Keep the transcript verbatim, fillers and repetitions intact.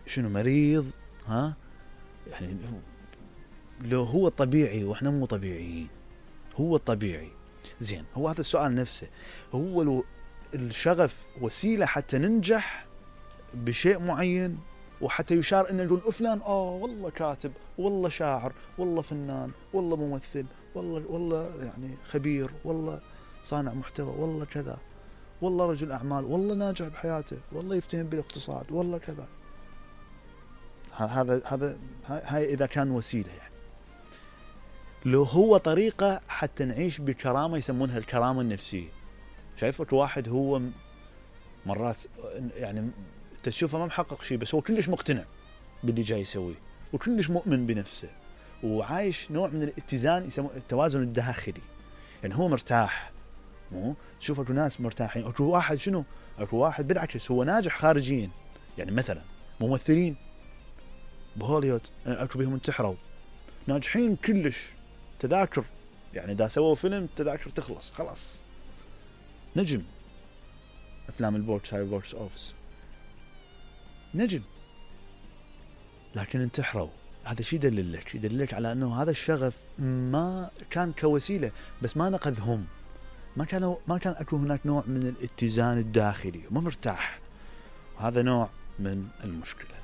شنو مريض ها يعني لو هو طبيعي واحنا مو طبيعيين. هو الطبيعي زين. هو هذا السؤال نفسه، هو لو الشغف وسيلة حتى ننجح بشيء معين وحتى يشار ان نقول فلان اه والله كاتب والله شاعر والله فنان والله ممثل والله والله يعني خبير والله صانع محتوى والله كذا والله رجل اعمال والله ناجح بحياته والله يفتهم بالاقتصاد والله كذا. هذا هذا هاي اذا كان وسيله يعني. لو هو طريقه حتى نعيش بكرامه يسمونها الكرامه النفسيه. شايفك واحد هو مرات يعني تشوفه ما محقق شيء بس هو كلش مقتنع باللي جاي يسويه وكلش مؤمن بنفسه وعايش نوع من الاتزان يسموه التوازن الداخلي. يعني هو مرتاح، مو تشوف اكو ناس مرتاحين، اكو واحد شنو اكو واحد بالعكس هو ناجح خارجيا. يعني مثلا ممثلين بهوليوود اكو بهم انتحروا ناجحين كلش تذاكر، يعني اذا سووا فيلم تذاكر تخلص خلاص نجم افلام البوكس هاي بوكس اوفيس نجم، لكن انتحروا. هذا شيء يدللك يدللك على انه هذا الشغف ما كان كوسيله بس ما نقذهم، ما كانوا ما كان اكو هناك نوع من الاتزان الداخلي، ما مرتاح. وهذا نوع من المشكله.